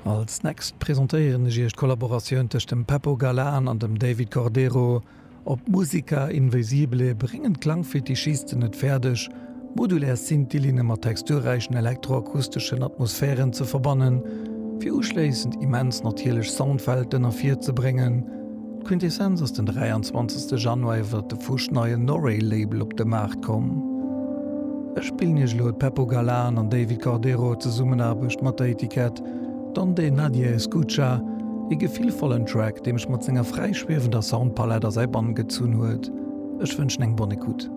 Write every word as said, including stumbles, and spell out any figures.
Als nächst presentéieren ech iech d'Kollaboratioun tëscht dem Pepo Galan an dem David Cordero. Op Musica Invisible bréngen d'Klangfetischisten et fäerdeg, modulär Synthi-Linne mat texturräichen elektroakusteschen Atmosphären ze verbannen, fir uschléissend immens natierlech Soundwelten ervirzebréngen. D'Quintessenz ass den dräianzwanzegste Januar iwwer de fuschneien Norey-Label op de Maart komm. Ech spillen iech elo d'Pepo Galan an David Cordero Zesummenaarbecht mat der Etikett Donde Nadie Escucha, e gefillvollen Track, dee mech mat senger fräi schwiewender Soundpalett a säi Bann gezunn huet. Ech wënschen eng bonne écoute.